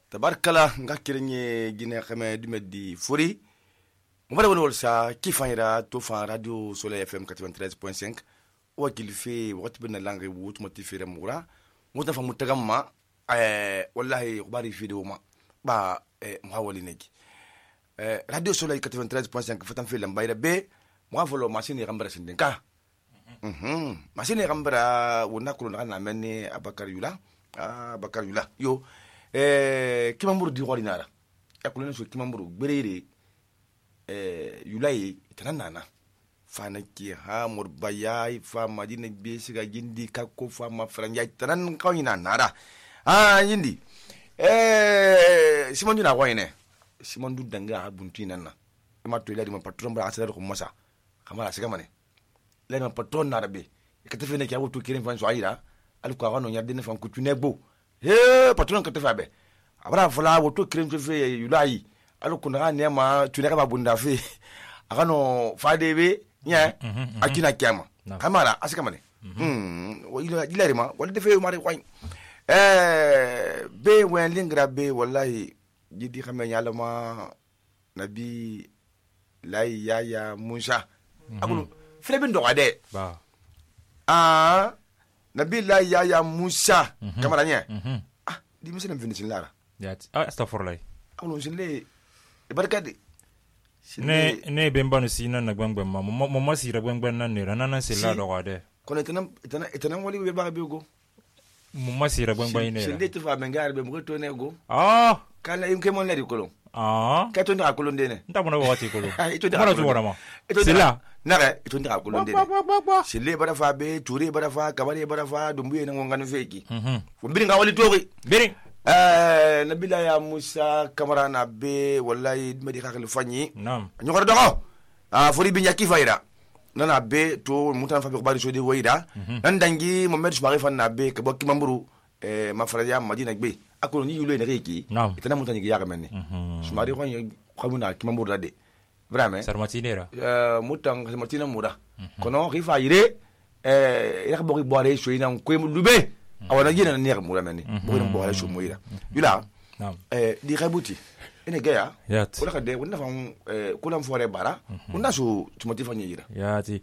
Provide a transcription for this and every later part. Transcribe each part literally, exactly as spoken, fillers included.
tabarkala nga kirenye gine khame dumedi furi mo bala woni wolsa kifanyira to fa radio Soleil F M quatre-vingt-treize point cinq o kilfe wakati bena langi wut motifere mura mutan fa mutagamma eh wallahi khbari video ma ba eh mwawali neki eh radio Soleil quatre-vingt-treize point cinq fatan fe lambayra be mo folo machine gambara sindenka mhm machine gambara wona kulo na menni Abakar Yula Abakar Yula yo eh kimamburu di ordinara ekulene so kimamburu berere eh Yulai tanana fana ki ha murbayai fa madina be siga gindi kakko fa ma franja tanan kawina nara ah yindi eh simon dina wayne simon du danga buntu nanna ma to iladi ma patron bra asara ko masa kamara siga mane le ma patron nara be ka tefene ki awoto kirin fan so ayira al ko wano nyarde ne fan ko tunegbo he patron ka tefa be abra fala woto kirin fe Yulai al ko na ne ma tunega ba bunda fe akano fadebe nya akina kiama kamara asika mane hmm ila ila rima wala defe mari kwai eh be wen lingra be wallahi jidi xamé nyala ma nabi lay yaya Musa akulu frebe ndo ade ba ah nabi lay yaya Musa kamara nya ah di muslim finish lara yat astaghfirullah akulu sinle barkade ne ne bemba no sina na gbangba ma mo mo sira gbangba na ne rana na se la do wade kono tanam tanam tanam wali be ba be go mo mo sira gbangba ine se de to fa mengar be mo to ne go ah kala im ke mon la di kolon ah ka to ndira kolon de ne nta mo na wati kolon ito ndira to wora ma se la na ito ndira kolon de ne se le bara fa be toure bara fa kabare bara fa dumbuye na ngana feki mhm fo mbiri nga wali tori mbiri eh nabila ya Musa kamara na be wallahi medi khakhl fanyi nam nyokor dogo ah fori bi nyaki fayda nana be to mutan fa be bari so de wayda nan dangi Mohamed Soumari fan na be ke bokki mamburu eh ma faraja Madina be akolo ni yulo ne reki itana mutan ni yaga menni Soumari ko xamuna ki mamburu de vraiment sarmatinera euh mutan sarmatina muda kono khifa yire eh yak bokki boire so ina ko lube awana yina ne yak mura menni bo bo ala so moyira yula eh di khabuti ene gaya wala ka de wona fa eh kula mfore bara wona so tumati fa nyira yati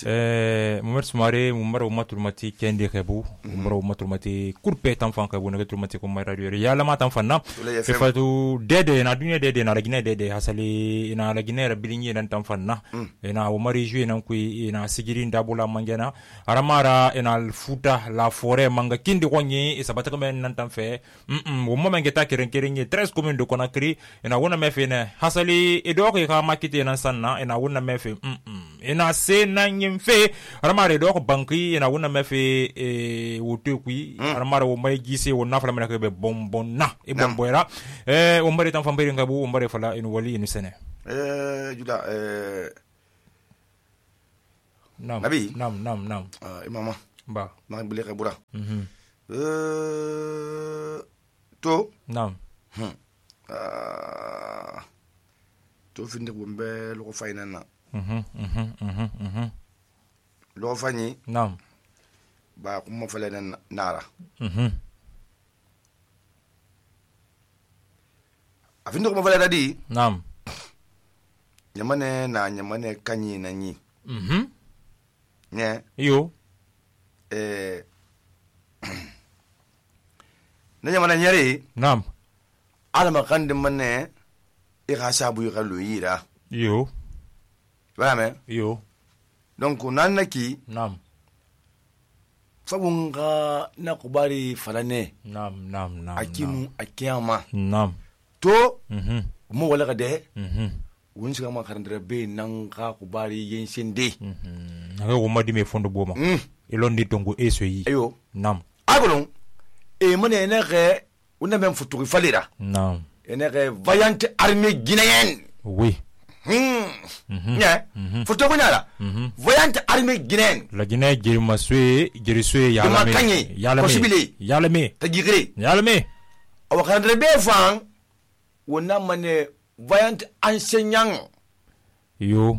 eh Mohamed Soumari mumaro maturmati kende khabu mumaro maturmati kurpe tan fan khabu na turmati ko mai radio ya la matan fanna e fatu dede na dunya dede na lagine dede hasali ina lagine rabilingi nan tan fanna ina o mari jouer nan ku ina sigiri ndabula mangena aramara ina futa la forêt manga kindi konyi e sabata ko men nan tan fe mm o moment ngeta keren keren treize communes de Conakry ina wona mefe ne hasali edoko ka makite nan sanna ina wona mefe mm ina se nan yimfe aramara edoko banki ina wona mefe e wote kui aramara wo mai gise wo nafala mena ke be bonbon na e bonboira eh o mari tan fambere ngabu o mari fala ina wali ina sene eh juda eh nam nabi nam nam nam ah imama ba ma bile ka bura mhm eh to nam hm ah to finde bombe lo fayna na mhm mhm mhm mhm lo fani nam ba ko mo fale na nara mhm afinde ko mo fale dadi nam nyamane na nyamane kanyi na nyi mhm ne yo eh na nyamane nyare nam alama kande manne e khasabu yalo yira yo vraiment yo donc nanaki nam fabunga na kubari falane nam nam nam akinu akiyama nam to mhm mo wala ka de mhm won siga ma kharandre be nan ka kubari yensende mhm na ko madi me fondo boma mm e londi tongo eso yi ayo nam agolon e mone ne ge wona même futuri falira nam ene ge vaillante armée guinéenne oui hmm nya futo ko nyala vaillante armée guinéenne la Guinée girma sué girisue yala me yala me yala me ta gigre yala me o khandre be fan wona mane vaillante enseignant yo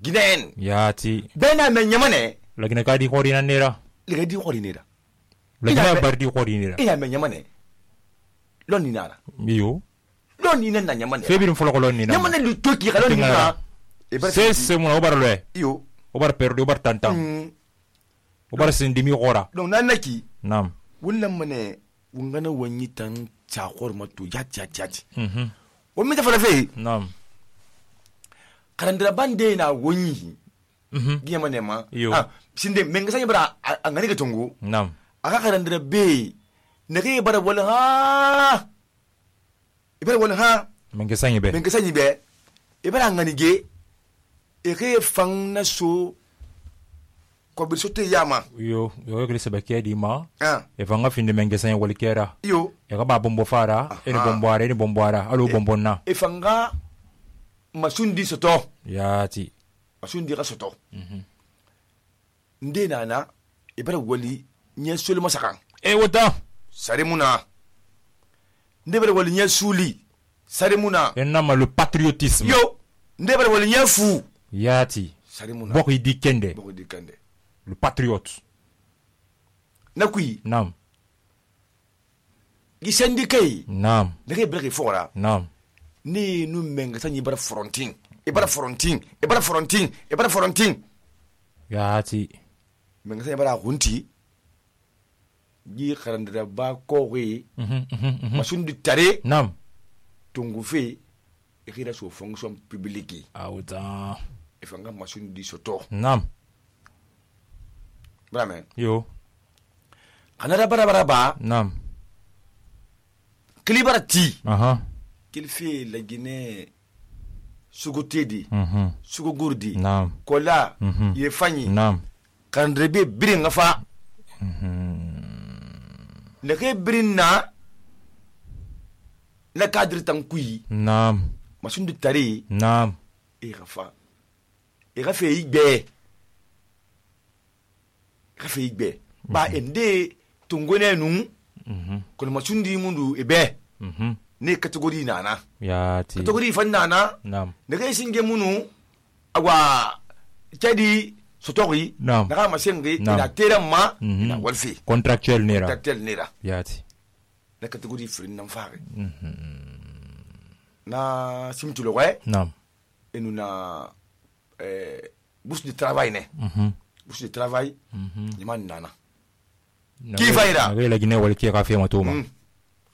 guinéenne yati bena me nyamane la Guinée ka di khorina nera le di khorina la Guinée bar di khorina ina me nyamane lon ni nara iyo lon ni nan nyama ne febirin folo lon ni na nyama ne lu toki ka lon ni na e bar se se mo obar le iyo obar perdo obar tantam obar sindimi gora donc nan naki nam wulan mane wungana wanyi tan chakor matu yat yat yat mhm o mi ta fala fe nam karandira bande na wonyi mhm giya mane ma ah sinde menga sanya bara angani ga tongo nam aka karandira be ne ke bara wala ha ibara wala ha menga sanya be menga sanya be ibara ngani ge e ke fang na so ko bi sote yama yo yo ke se bakia di ma ah e fanga finde menga sanya wala kera yo e ka ba bombo fara e ni bombo ara e ni bombo ara alo bombo na e fanga masundi soto yati masundi ka soto mhm nde nana ibara wali nye suli masakan e wota sare muna nde bara wali nye suli sare muna e nama le patriotisme yo nde bara wali nye fu yati sare muna boko di kende boko di kende le patriote nakui nam gisendi kai nam ndeke breke fora nam ni nu menga sanyi bara fronting e bara fronting e bara fronting e bara fronting yati menga sanyi bara hunti gi kharandira ba ko wi mhm mhm masundi tare nam tungu fe e khira so fonction publique awuta e fanga masundi soto nam brame yo kanara bara bara ba nam klibara ti aha qu'il fait la Guinée sugutedi mhm sugugurdi nam kola Mhm. ye fanyi nam kandrebe birin fa mhm le ke birin na la cadre tankui nam masundu tari nam e rafa e rafa igbe rafa igbe ba ende tungone nu mhm kono masundi mundu ebe mhm ne category nana yati category fan nana nam ne ke singe munu awa kedi sotori nam na ma sengri Naam. ina tera ma Mhm. ina walfi contractuel nera taktel nera yati na category frin nan fare mhm na simtulo we nam enu na eh bourse de travail ne mhm bourse de travail mhm ni man nana Na- Ki faira? na la Guinée wala ki ka fe matoma mm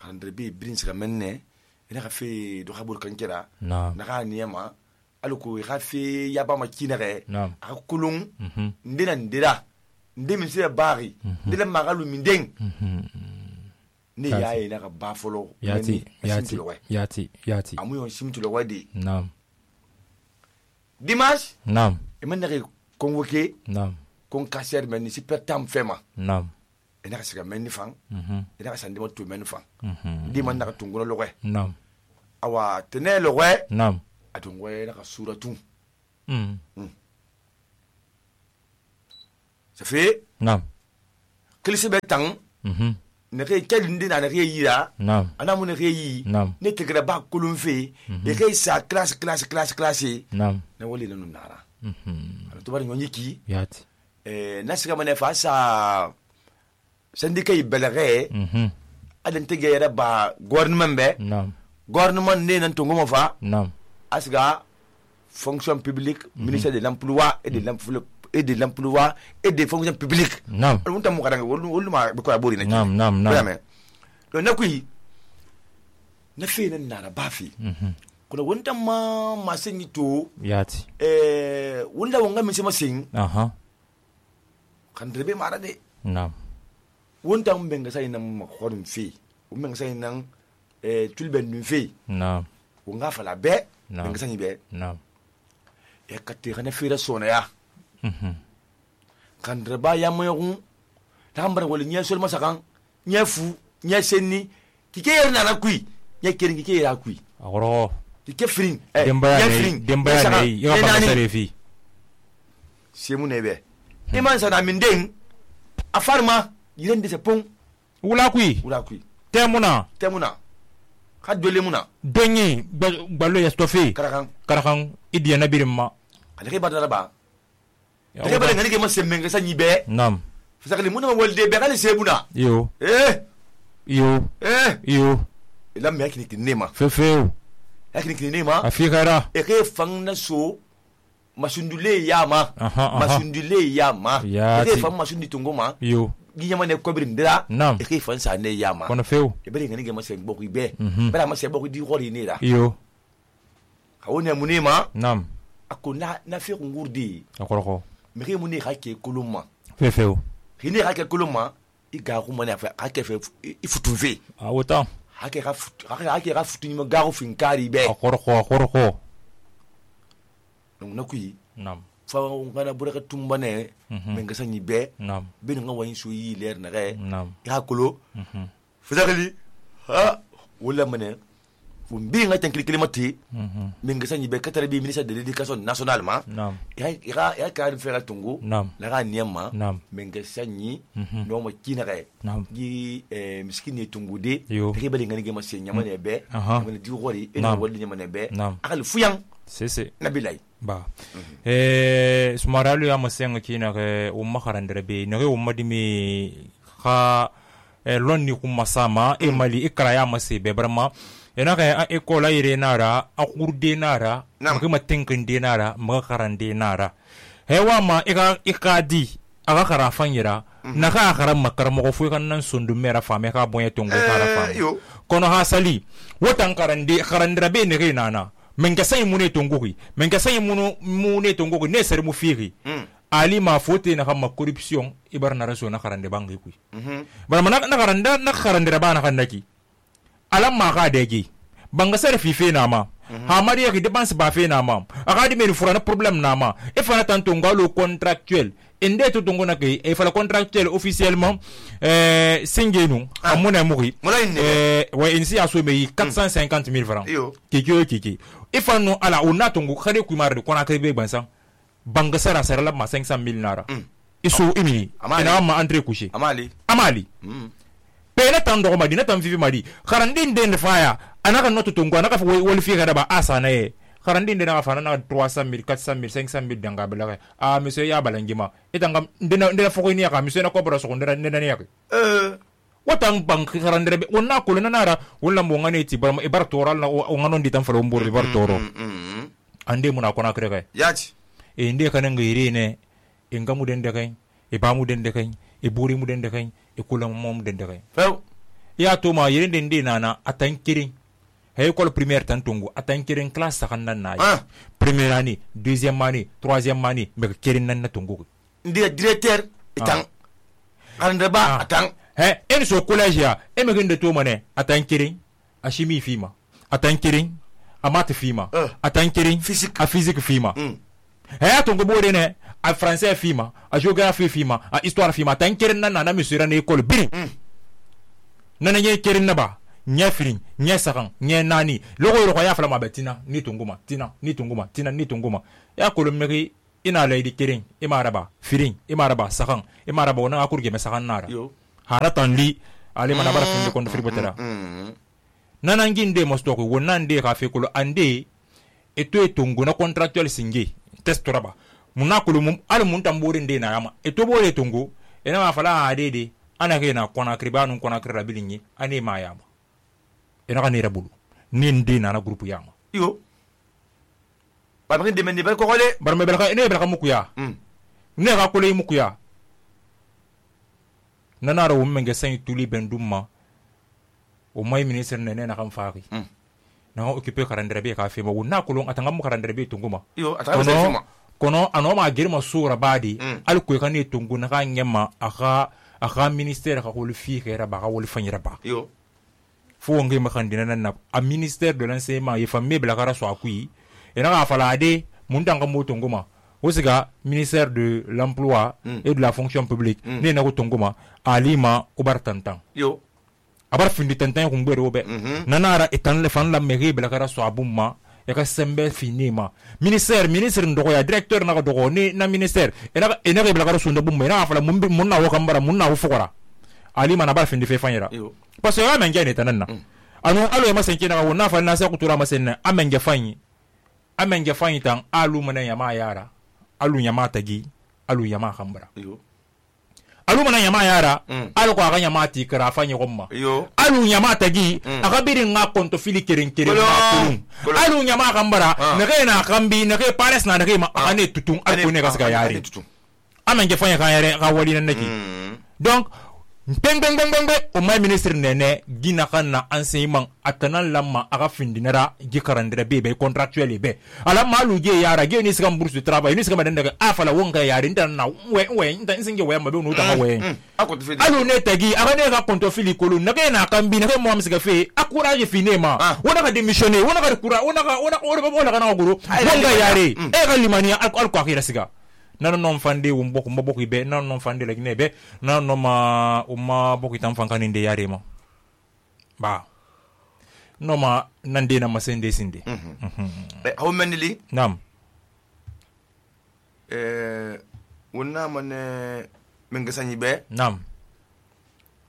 andre be brin sika menne ina ka fe do khabul kankera nam na ka niyama aluko ka fe yaba ma kinare nam a kulung mhm ndina ndira ndemi se bari ndile magalu mindeng mhm ne Yati. yaye na ka ba folo yati meni, yati simtulo we. yati yati amu yon simtulo wadi nam dimanche nam e man na convoqué nam kon kasser men si per tam fema nam e na ka sika men ni fang mhm e na ka sandi mo to men fang mhm di man na ka tungono lo we nam awa tene lo we nam atungo we na ka suratu mhm ça fait nam klisi be tang mhm ne ke kelindi na ne ke yira nam ana mu ne ke yi nam ne tegre ba kulun fe e ke sa classe classe classe classe nam ne woli le nara mhm ala to bari nyonyi ki yati eh na sika mane fa sa syndicat yi belere mhm adan tegere ba gouvernement be nam gouvernement ne nan to ngoma fa nam asga fonction publique ministère de l'emploi et de l'emploi et de l'emploi et des fonctions publiques nam on tamu kadanga wolu wolu ma be ko abori na nam nam nam vraiment do na kuyi na fe nan na ba fi mhm kuna wonta ma ma senyi to yati eh wonda wonga mi sema sing aha kan rebe mara de nam wonta mbenga sai nan ma khorum fi mbenga sai nan eh tulben dun fi nam wonga fala be Naam. mbenga sai be nam e katte kana fira sona ya mhm kan reba ya moyun ta mbara wala nya sol masakan nya fu nya senni kike yerna na kui nya kirin kike yera kui agoro kike frin eh dembaya ne dembaya ne yo ba sare fi semu nebe iman sana min den afarma yiren de se pon wula kui wula kui temuna temuna ka dole muna donyi ballo ya stofi karakan karakan idiya na birimma alake badara ba alake badara ngani ke ma semmen ga sanyi be nam fasakali muna wolde be kali sebuna yo eh yo eh yo lam me yakini kinema fefeu yakini kinema afikara e ke fang na so masundule yama masundule yama e ke fang masundi tungoma yo ginyama ne kobiri ndira nam e ke fang sa ne yama kono feu e bere ngani ge mase boku be bere mase boku di hori ne da yo kawone munema nam akona na fi ngurdi akoroko me ke muni hake kuluma fefeu hine hake kuluma iga ko mani afa hake fe ifutuve ah autant hake ga hake hake ga futu ni garu finkari be akoroko akoroko donc nakui nam fa ngana buraka tumbane men ga sanyi be nam ben nga wayin so yi leer na re nam ya kolo fazakali ha wala mane fu mbi nga tan kilimati men ga sanyi be katare bi ministre de l'éducation nationale ma nam ya ya ya ka fera tungu nam la ga niama nam men ga sanyi no ma kina re nam gi eh miskini tungu de yo ke bali ngani ge ma se nyama ne be aha men di gori e no wali nyama ne be nam akal fuyang c'est c'est nabilai ba eh sumaralu ya masenga kina ke umma kharandere be ne umma dimi kha lonni kuma sama e mali ikra ya mase be barma ena ka ekola ire nara akurde nara kuma tinkin de nara ma kharande nara hewa ma ika ikadi aga khara fanyira na ka khara makar mo fu kan nan sundu mera fame ka bonye tongo kara fam kono hasali wotan karande kharandira be ne ke nana men ka sai mune tongoki men ka sai munu mune tongoki ne sare mu firi ali ma fote na kama corruption ibar na raso na karande bangi kui bara mana na karanda na karande rabana kandaki alam ma ka dege banga sare fife na ma ha mariya ki dépense ba fe na ma akadi me fura na problème na ma e fana tanto ngalo contractuel ende to tongo na ke e fala contractuel officiellement euh singenu amuna muri euh wa insi aso me quatre cent cinquante mille francs kiki kiki e fano ala ona tongo khare ku mare ko na ke be bansan banga sara sara la ma cinq cent mille nara iso imi ina ma entre coucher amali amali pele tan do madina tan vivi madi kharandin den faya anaka noto tongo anaka wol fi kada ba asana e kharandin den na fana na trois cent mille quatre cent mille cinq cent mille danga bela ah monsieur ya balangima etanga ndena ndena foko ni aka monsieur na ko bra so ndena ndena ni aka eh watang bank kharandere be wonna ko na nara wala mo ngane ti bar e bar toral na o ngano ndi tan falo mbur bar toro ande muna ko na krega yati e nde kana ngiri ne e ngamu den de kay e bamu den de kay e buri mu den de kay e kula mom den de kay few ya to ma yire den de nana atan kirin hay école primaire tan tongo atan kirin classe sakanna na ah. première année deuxième année troisième année me kirin nan na tongo ndi directeur etang ande ba atang he en so collège ya e me gende to mane atan kirin a chimie fima atan kirin a maths fima uh. atan kirin physique a physique fima mm. he tongo bore ne a français fima a géographie fima a histoire fima atan kirin nan na monsieur na école bin mm. nana ye kirin na ba nya firin nya sakan nya nani logo logo ya fala ma betina ni tunguma tina ni tunguma tina ni tunguma ya kolo meri ina lady kirin imaraba firin imaraba sakan imaraba wona akurge me sakan nara haratan li ale mana bara fin de kon firi botara nana nginde mosto ko wona nde ka fe kolo ande eto etungu na contractual singe test raba munakulu mum al mun tambore nde na yama eto bore tungu ena ma fala adede ana ke na kona kribanu kona krabili ani ma yama ena kanira bulu nindi na na groupe yama yo ba mi de mendi ba ko kole bar me belka ene belka mukuya mm ne ka kole mukuya nana ro menge sen tuli benduma o mai ministre ne ne na kan faaki mm na occuper karandere be ka fe mo na kulon atanga mu karandere be tunguma yo atanga be fima kono anoma girma sura badi mm. al ko kan ne tungu na kan nyama aka aka ministère ka ko le fi kera ba ka wol fanyira ba yo fo ngi ma kan dina na a ministère de l'enseignement ye famille bla kara so akui ena ka fala de mun tanga mo tunguma osiga ministère de l'emploi mm. et de la fonction publique mm. ne na ko tunguma alima ubartantan yo abar findi tantan ko ngbe robe mm -hmm. nanara etan le fan la mairie bla kara so abumma e ka sembe finima ministère ministre ndoko ya directeur na ko dogo ni na ministère ena ena bla kara so ndabumma ena fala mun mun na wo kambara mun na wo fukora alima na bar findi fe fanyira parce que amenga ne tananna mm. anu alo e masenke na wo na fa na sa kutura masenna amenga fanyi amenga fanyi tan alu mana ya ma yara alu ya ma tagi alu ya ma kambara alu mana nyama yara alu ko aga nyama ti kara fa nyogomma alu nyama tagi aga birin nga konto fili keren keren alu nyama kambara nage na kambi nage pares na nage ma ane tutun alu ne gasga yari amenge fanya ka yare ka wali nan naki donc beng beng beng beng o mai ministre nene gina kana enseignement atanan lamma aga findinara gi karandira be be contractuel be ala malu ge yara ge ni sigam bourse de travail ni sigam daga afala wonga yari ndan na we we ndan singe we mabe no ta we alu ne tagi aga ne ga konto fili kolu nage na kambi nage mo amsiga fe akura je finema wona ga démissionner wona ga kura wona ga wona wona ga na guru wonga yari e ga limania al ko akira siga nan non fande wum bokku mbokku be nan non fande la ginebe nan non ma umma bokku tan fankani de yare ma ba no ma nande na masende sinde eh how many li nam eh wonna man menga sanyi be nam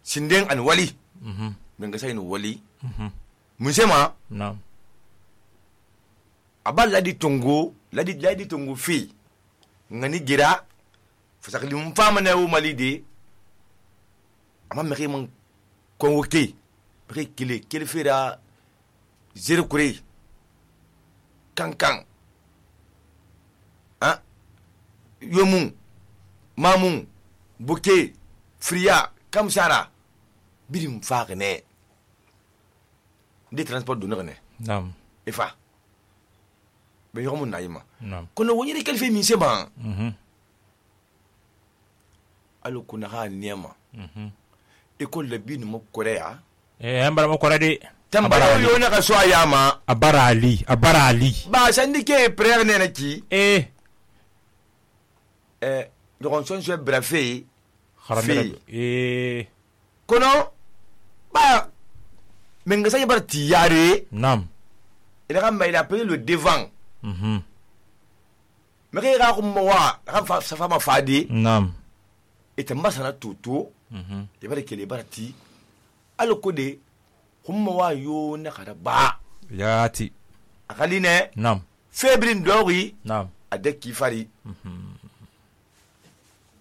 sinden an wali mhm menga sanyi wali mhm musema nam abal ladi tongo ladi ladi tongo fi ngani gira fasakli mfama na wo malide ama meki man convoqué meki kile kile fera zero kure kankan ah yomu mamu buke fria kamsara birim fagne de transport do ngane nam ifa be yomu naima nam kono woni re kalfe min seba mhm alu kuna ha niema mhm école le bin mo korea eh ambara mo korade tambara yo na ka so ayama abarali abarali ba sandike prère ne na ki eh eh donc son so brafé kharamira eh kono ba menga sa bar tiyare nam ina kan mai la le devant mhm mais ga ko mo wa ga sa fama fadi nam et mbasana tutu mhm e bare kele barati alo kode humma wa yo na kada ba yati akaline nam febrin dori nam adek kifari mhm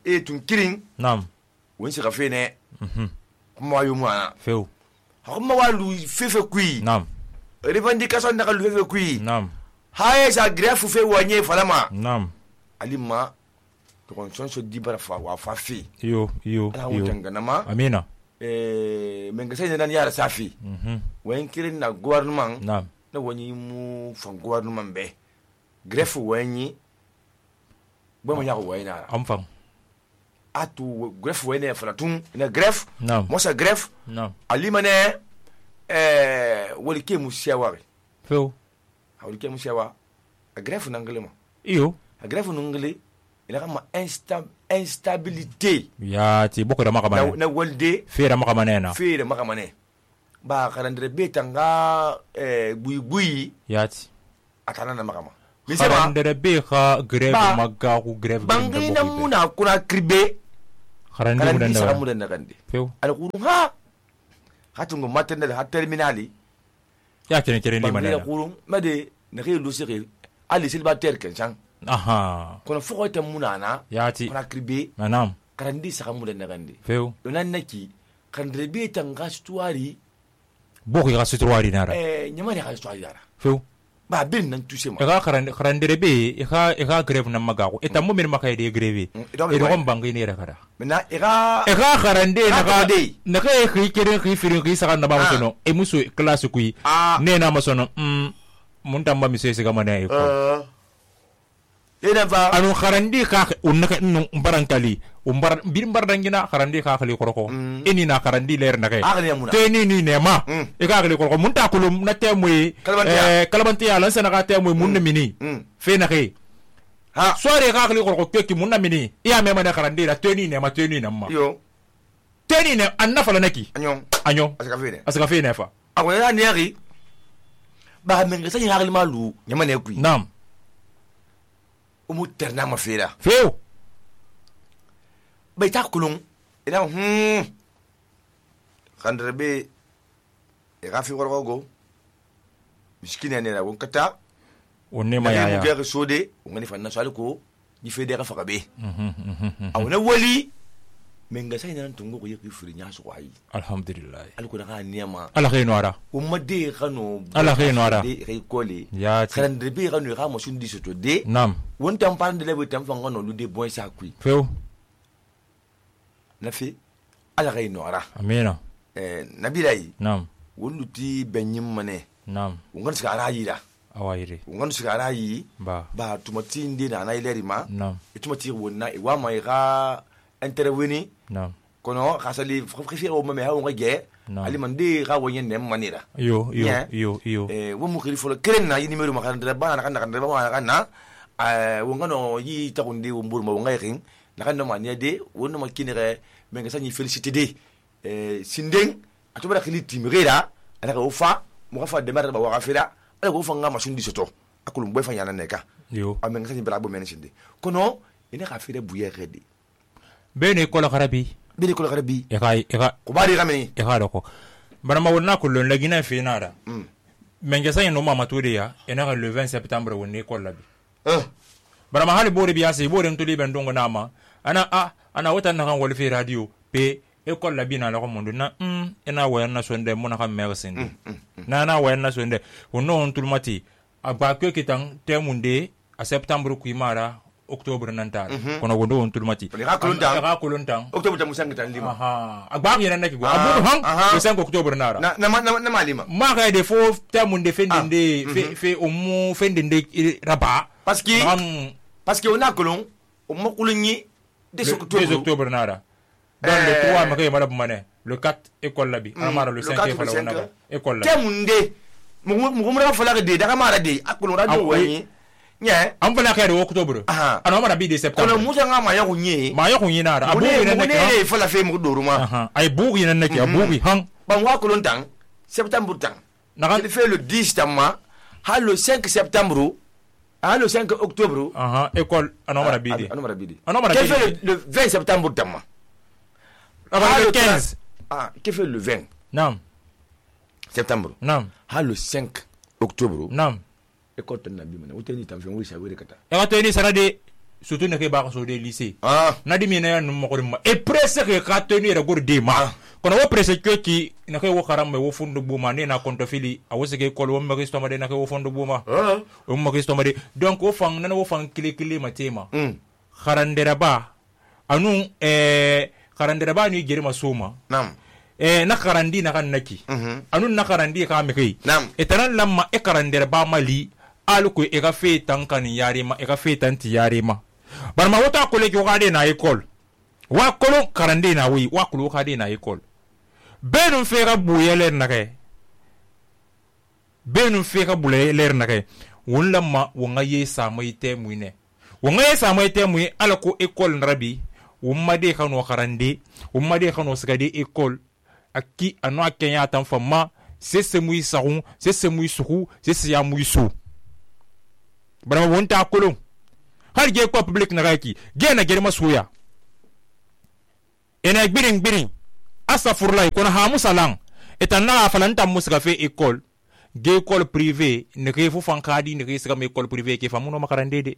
e tun kirin nam won se rafene mhm humma wa yo mwana feu humma wa lu fefe kui nam revendication na lu fefe kui nam haye sa greffe fe wanye falama nam alima to kon son so dibara fa wa fa fi yo yo yo tanganama amina eh menga sai nan yara safi mhm wen kirin na gouvernement nam na wani mu fan gouvernement be greffe wani bo mo yako wayna am fam atu greffe wani falatun na greffe nam mo sa greffe nam alima ne eh wali ke mu siawa feu wali ke mu siawa a greffe nanglema iyo a greffe nungle ila kama insta instabilité yati boko da makamane na walde fera makamane na fera makamane ba karandre betanga eh bui bui yati atana na makama karandre be kha greve magga ku greve bangi na muna kuna kribe karandre muna na muna na kande feu ala kuru ha hatungo maternel ha terminali ya kene kene ni manena bangi kuru made na ke lusiri ali silbater kensan aha kono foko ta muna na yati kuna kribe manam karandi saka muna na kande feu donan naki karandre betanga stuari boko ga sutwari nara eh nyama ne ga stuari dara feu ba bin nan tuse ma e ga karande karandre be e ga e ga greve na magago e tammo min makay de greve e do gon bangi ne rakara mena e ga e ga karande na ga na ga e khi kere khi firin khi saka na ba sono e musu classe kui ne na masono mm mun tamba mi sese ga mana e ko ina fa anu karandi ka unnaka nun barankali umbar bir bardangina karandi ka khali koroko eni na karandi ler na kay te ni ni ne ma e ka khali koroko mun ta kulum na temoy eh kalabanti ala sana ka temoy mun mini fe na kay ha soare ka khali koroko keki mun mini iya me ma na karandi la te ni ne ma te ni na ma yo te ni ne anna fala naki anyo anyo asaka fe ne asaka fe ne fa ako ya ni yari ba menga sa yari malu nyama ne kui nam umu terna ma fera feu bay ta kulung ina hmm khandrebe e gafi gorgo go miskine ne la wonkata onne ma ya ya ga sode ngani fa na sali ko ni fe de ga faka be awna wali menga sai nan tungo ko yeki furi nya so ayi alhamdulillah alko na ka niyama ala khayno ara o madde khano ala khayno ara de kay kole ya kran de bi khano ka mo sundi soto de nam won tam pan de lebe tam fanga no lu de boy sa kui feo na fi ala khayno ara amina eh nabirai nam won luti benyim mane nam won ska ara yira awayire won ska ara yi ba ba tumati inde na na ileri ma nam tumati wonna wa ma ga intervenir nam kono khasali frifir o mame ha on ge ali mande ga woyen nem manira yo yo yo yo eh wo mu khiri folo kren na yi numero ma kan dra ba na kan kan dra ba kan na eh wo ngano yi ta kunde wo mbur ma wo ngai kin na kan no ma ne de wo no ma kinere men ga sanyi félicité de eh sinden atubara khili timira ala ko fa mo fa de mer ba wa fira ala ko fa nga ma sundi soto akulum boy fa yana neka yo amen ga sanyi bra bo men sinde kono ina ka fira buye rede bene ko la kharabi bene ko la kharabi e kai e ka ko bari gameni e ka ko barama wonna ko lon lagina fe nada mm men ga sanyi no mama to de ya ina ka le vingt septembre wonni ko labi eh barama hali bore biya se bore to liben dongo nama ana a ana wata na kan wol fe radio pe e ko labi na la ko mondo na mm ina wayan na sonde mo na kan mersin na na wayan na sonde wono on tulmati agba ko kitan temunde a septembre ku imara octobre nantal kono wondo on tulmati ka kolontan ka kolontan octobre tamu sangitan lima aha agba yena naki go abu han le cinq octobre nara na na na malima ma ka de fo temunde fendinde fe fe o mu fendinde raba parce que parce que on a kolon o mo kolonyi de octobre nara dans le trois ma kay mala mané le quatre école labi amara le cinq fa la wona école labi temunde mo mo mo fa la de da mara de akolon radio wani nya am fala kay de octobre ana mara bi de septembre kono musa nga ma ya kunye ma ya kunye nara abu ne ne fa la fe mo doruma ay bugi nan naki abugi han ban wa kolon tang septembre tang il fait le dix tamma ha le cinq septembre ha le cinq octobre aha école ana mara bi de ana mara bi de ana mara bi fait le vingt septembre tamma ah le quinze ah qui fait le vingt nam septembre nam ha le cinq octobre nam école tan nabi mana woteni tam fen wisa were kata e wato ni sarade surtout ne ke ba ko so de lycée ah nadi mi na no mo ko ma e presse ke ka tenir re gor de ma kono wo presse ke ki na ke wo karam me wo fundu buma ne na konto fili a wo se ke école wo ma ke stoma de na ke wo fundu buma ah wo ma ke stoma de donc wo fang na wo fang kile kile ma tema kharandera ba anu eh kharandera ba ni gere ma soma nam eh na karandi na kan naki anu na karandi ka me kai nam etanan lamma e karandera ba mali aluko e ka fe tan kan yarima e ka fe tan ti yarima barma wota ko le ko gade na école wa kolo karande na wi wa kolo gade na école benun fe ka buyeler na kai benun fe ka buyeler na kai won lamma wonga ye samai te muine wonga ye samai te mui alako école rabi wumma de kanu karande wumma de kanu sigade école aki anu akenya tan fama sese mui sarun sese mui suhu sese ya mui su bara wonta kolon har ge ko public na gaki ge na germa suya ena gbirin gbirin asafurlai kona ha musalan etanna falanta musga fe école ge école privée ne ke fu fankadi ne ke sga me école privée ke famuno makarande de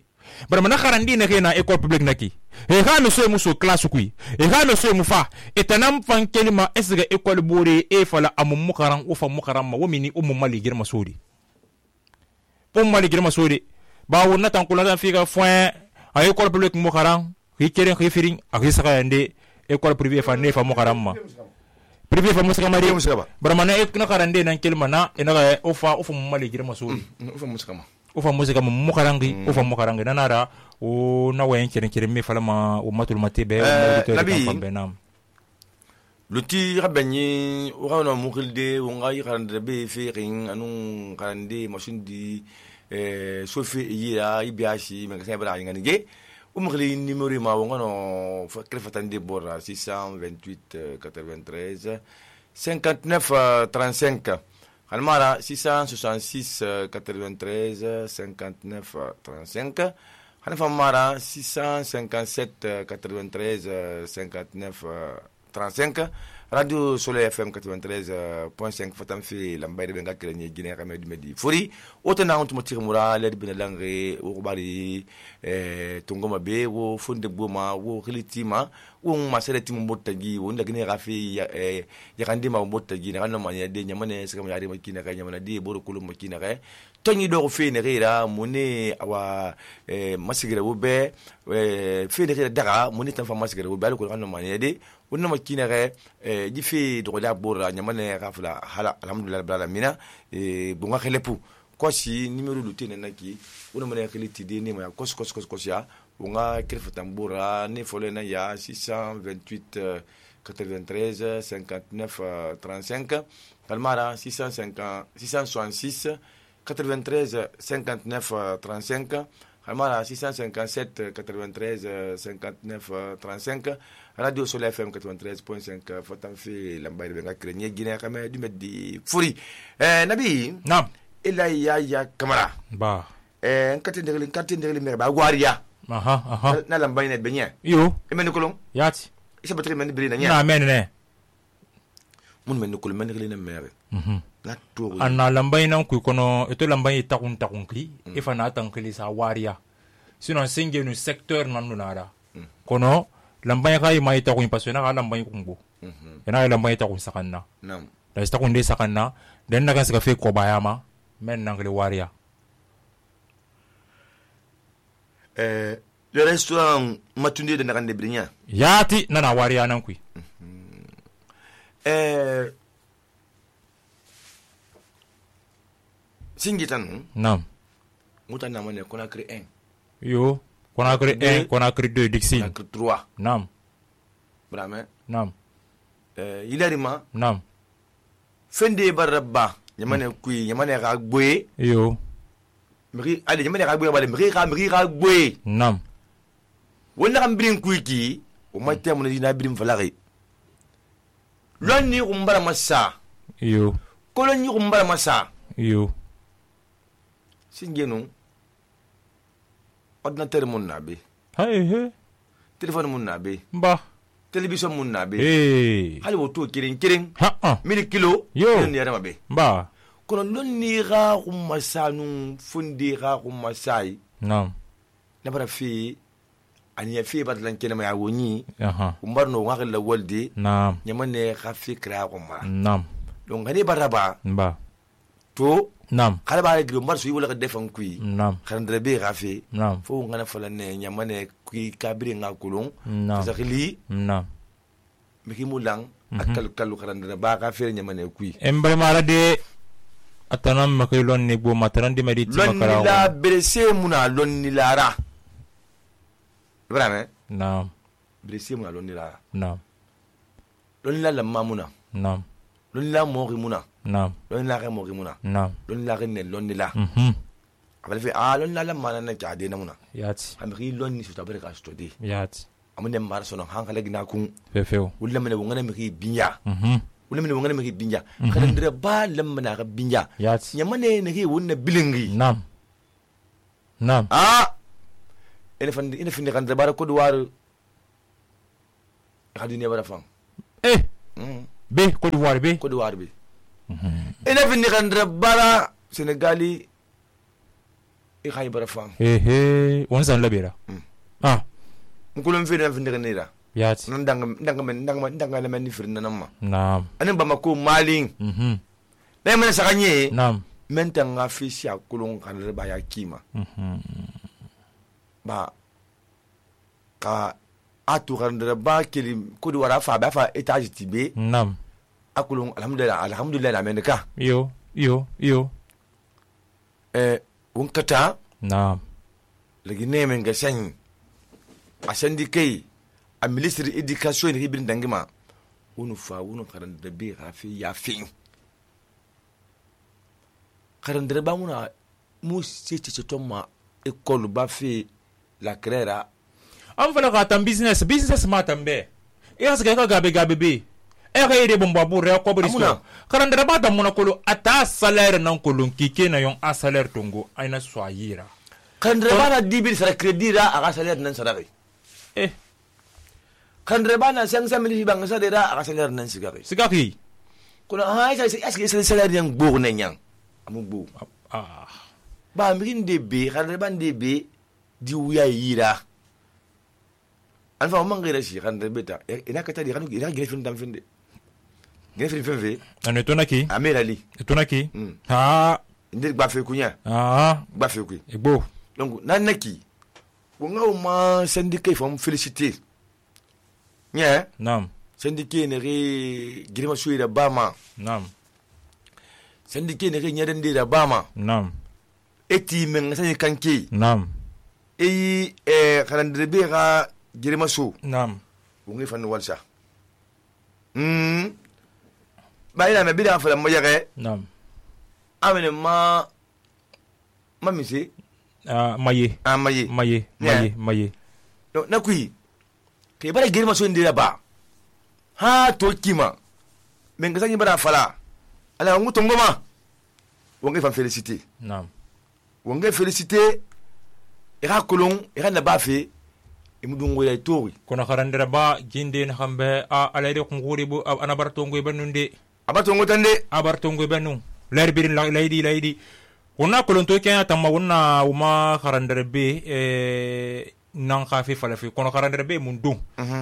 bara mana karandi ne ke na école publique naki e ha no so muso classe kui e ha no so mu fa etanam fankelima esga école bore e fala amum mukaran u fa mukaran ma womini ummu mali germa sodi pom mali germa sodi ba wonna tan kula tan fika foin a école publique mukaran ri keren ri firin a ri saka yande école privée fa ne fa mukaran ma privé fa musaka mari bara na ek na karande nan kelma na ina ga ofa ofa mali germa sodi ofa musaka ma ofa musaka mukarangi ofa mukarangi nanara o na wayen keren keren me fala ma o matul matibe o nabi luti rabani o rawana mukilde o ngai karande be ferin anu karande machine eh sofi yira ibiashi me ka bara ngani ge o mukili numéro ma o ngano fa krefatande bora six cent vingt-huit quatre-vingt-treize cinquante-neuf trente-cinq Almara six cent soixante-six quatre-vingt-treize cinquante-neuf trente-cinq Hanfamara six cent cinquante-sept quatre-vingt-treize cinquante-neuf trente-cinq radio Soleil F M quatre-vingt-treize point cinq fatam fi lambay de nga krenye Guinée xamé du medi fori otana on tumati mura le bina langre o bari eh tongoma be wo fonde boma wo khilitima wo ma sereti mo tagi wo ndagine rafi eh yakandi ma mo tagi na no manya de nyamane saka yari makina ka nyamana de boro kulu makina ka tonyi do fe ne rira mune awa eh masigere wo be eh fe ne rira daga mune tan fa masigere wo be ko no manya de wonna makina ka eh jifi do da bora nyamane rafla hala alhamdulillah rabbil alamin eh bunga khelepu kosi numéro du tene naki wona mane khiliti de ni ma kos kos kos kos ya wonga kirfa tambura ne fole na ya six cent vingt-huit quatre-vingt-treize cinquante-neuf trente-cinq kalmara six cent cinquante six cent soixante-six quatre-vingt-treize cinquante-neuf trente-cinq kalmara six cent cinquante-sept quatre-vingt-treize cinquante-neuf trente-cinq radio Soleil F M quatre-vingt-treize point cinq fatam fi lambay de nga krenye Guinée xamé du meddi furi eh nabi nam ila ya ya kamara ba eh nkati ndegli nkati ndegli me ba gwariya aha aha na lambay net benye yo e men kolon yati isa batri men bri na nya na men ne mun men kolon men ndegli na mere mhm na to anna lambay nan ku kono eto lambay takun takun kli e fa na tan kli sa waria sinon singe no secteur nan no nara kono lambay kay may takun pasona ka lambay kumbo mhm ena lambay takun sakanna nam da sta kun de sakanna den naga saka fe ko bayama men nan kli waria eh le restaurant matunde de nakande brinya yati nana waria nan ku eh singitan nam mutana mane kona kri un yo Conakry un Conakry deux Dixine Conakry trois nam brame nam eh ilarima nam fende barabba nyamane kui nyamane ga gboye yo mri ali nyamane ga gboye bale mri ga mri ga gboye nam wonna kam brin kui ki o matte mun dina brin falari lonni umbara massa yo kolonni umbara massa yo singenu ordinateur mun nabe hay he téléphone mun nabe ba télévision mun nabe eh hali woto kirin kirin ha ah mili kilo yo ni yara mabe ba kono lonni ga umasanu fundi ga umasai nam na bara fi ani ya fi badlan kene ma woni aha umbar no ngakal la wolde nam nyamane ga fi kra ko ma nam donc ngani baraba ba to nam kala ba gro mar su wala ka defan kui nam khandre be ga fi nam fo ngana fala ne nyamane kui kabri ngakulon nam zakili nam miki mulang akal kalu khandre ba ga fi nyamane kui embre mara de atanam makay lon ni bo mataran di mediti makara lonni la berese muna lonni lara vraiment nam berese muna lonni lara nam lonni la lamma muna nam lonni la mori muna nam lonni la mori muna nam lonni la ne lonni la mhm abal fi ah lonni la lamma na ka de na muna yati amri lonni su tabare ka sto de yati amune mar sono hankala gina kun fefeo wulla mene wongana mi binya mhm wulla mene wongana mi binya kada ndira ba lamma na ka binya yati nyamane ne ki wonna bilingi nam nam ah ene fandi ene findi kan dabara ko duwar hadine bara fam eh mm be Côte d'Ivoire be ko duwar bi mhm ene findi kan dabara Senegali e khay bara fam eh eh on san labera ah nkulum fi den findi kan nira yati nan danga danga men danga danga le men ni firna namma nam anen bama ko malin mhm be men sakanye nam menta nga fi sia kulun kan ba ya kima mhm ba ka atu kan ba kili ko di wara fa ba fa etage tibe nam akulun alhamdulillah alhamdulillah amenka yo yo yo eh un kata nam legi nemen ga sanyi a sandi kai a ministry education ni bin dangima unu fa unu karan da be rafi ya fin karan da ba muna mu ce ce tomma école ba fi la créera an fala ka tan business business ma tambe e asga ka gabe gabe be e ka yede bomba bu re ko bri so karandara ba tan mona kolo ata salaire nan kolon kike na yon a salaire tongo aina so ayira karandara ba na dibir sara credit ra aga salaire nan sara eh khandre bana cinq cent mille banga sa dera aka salaire nan sigari sigaki kono ha sa est-ce que salaire yang bo ne nyang amu bo ah ba mirin de be khandre ban de be di wuya yira alfa man gira shi khandre beta ina kata di kanu ina gira fin dam finde gira fin fin fe ane tonaki amera li tonaki ha inde ba fe kunya ah ba fe ku egbo donc nan naki ko ngaw ma syndicat fam féliciter nya nam syndicat ne re girma suyi da bama nam syndicat ne re nyaden de da bama nam eti men sani kanki nam e e karandre be ga girma su nam ungi fan walsa hmm bayina me bida fa mo yare nam amene ma ma misi ah maye ah maye maye maye maye no na kui ke bara girma su ndira ba ha to kima men ga sani bara fala ala nguto ngoma ungi fan féliciter nam ungi féliciter ira kolon ira na bafe imudun goya tori kono karandira ba jinde na hambe a alayde kunguri bu anabarto ngoy banunde abato ngotande abarto ngoy banu lerbirin laydi laydi wonna kolon to kenya tamma wonna uma karandira be e nan khafi fala fi kono karandira be mun dun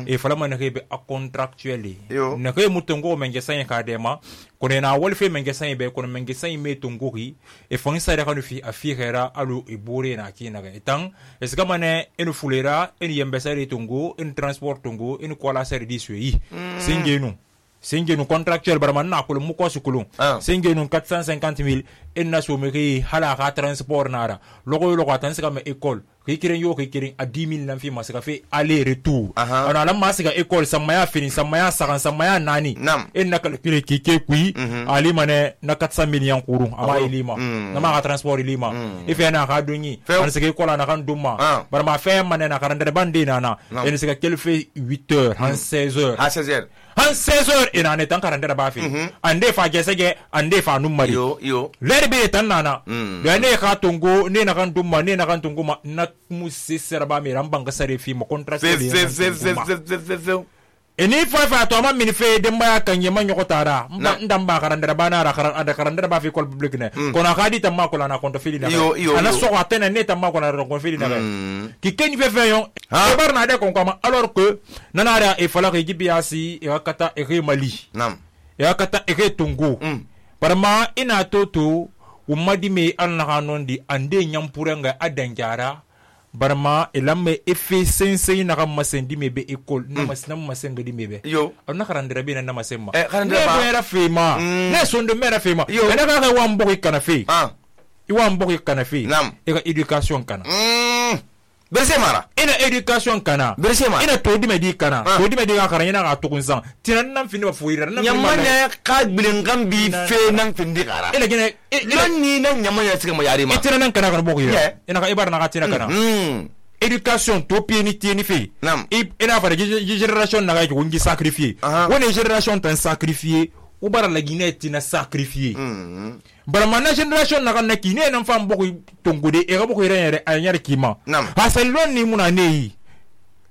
e fala man be a contractually na kay mutongo menge sanya ka dema kono na wolfe menge sanya be kono menge sanya me tongori e fon sa da kanu fi afira alu e bore na kina ga etan e sika mane en fulera en yembesari tongo en transport tongo en kola service yi singenu singenu contractuel barman na ko mu ko sukulu singenu quatre cent cinquante mille en na so me hala ka transport nara logo logo tan sika me école ki kiren yo ki kiren a dix mille nan fi masika fe aller retour ana la masika école samaya fini samaya sakan samaya nani en na kala kire ki ke kui ali mane na quatre cent mille yan kuru ama ilima na ma ka transport ilima ife na ka dunyi an sika école na kan dumma bar ma fe mane na karandere bande na en sika kel fe huit heures en seize heures ha seize heures en seize heures ina ne tan karandere ba fi ande fa gesege ande fa numari yo yo lerbe tan nana da ne ka tongo ne na kan dumma ne na kan tongo ma na musi serba mi rambanga sare fi mo contract fe fe fe fe fe fe eni fa fa to ma min fe de mba kan yema nyoko tara mba ndamba karandara bana ra karan ada karandara ba fi kol public ne kono khadi tamma ko na konto fili na ana so atena ne tamma ko na ko fili na ki ken fe fe yon e barna de kon kama alors que nanara e fala ke gibiasi e wakata e re mali nam e wakata e re tongo parma ina toto umadi me an na hanondi ande nyampurenga adanjara barma elamme efe sense na kam masendi mebe école na masna masenga di mebe yo na karandira be na masemma eh karandira ba mera fema na sonde mera fema na ka ka wambo kana fe ah i wambo kana fe e ka education kana mm berse mara ina education kana berse mara ina to di medi kana to di medi ka karanya na ka to kunsan tinan nan fini ba fuira nan nyamane ka bilengam bi fe nan findi kara ila gine nan ni nan nyamane sika mo yari ma itina nan kana kan boko ya ina ka ibar na ka tina kana education to pieni tieni fe ina fa generation na ga ko ngi sacrifier woni generation tan sacrifier u bara la gine tina sacrifier bara mana generation na kan na kine nan fam boko tongode e ga boko yere a nyar kima hasalon ni muna nei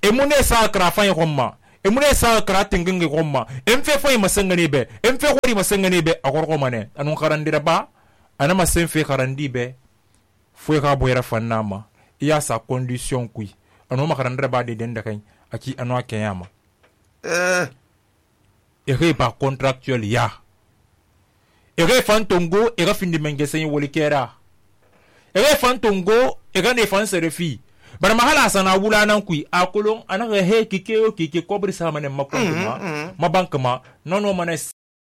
e mune sa krafa yi komma e mune sa kra tinginge komma em fe fo yi masangane be em fe ko ri masangane be akor ko mane anu karandira ba ana masen fe karandi be fo ka boyra fannama iya sa condition kui anu makarandira ba de den da kai aki anu akeyama eh e re ba contractuel ya e re fantongo e re fin de mengesen wolikera e re fantongo e ga ne fan serefi bara mahala sana wula nan kui akolon ana he kike o kike kobri sa mane makon ma ma bank ma nono mane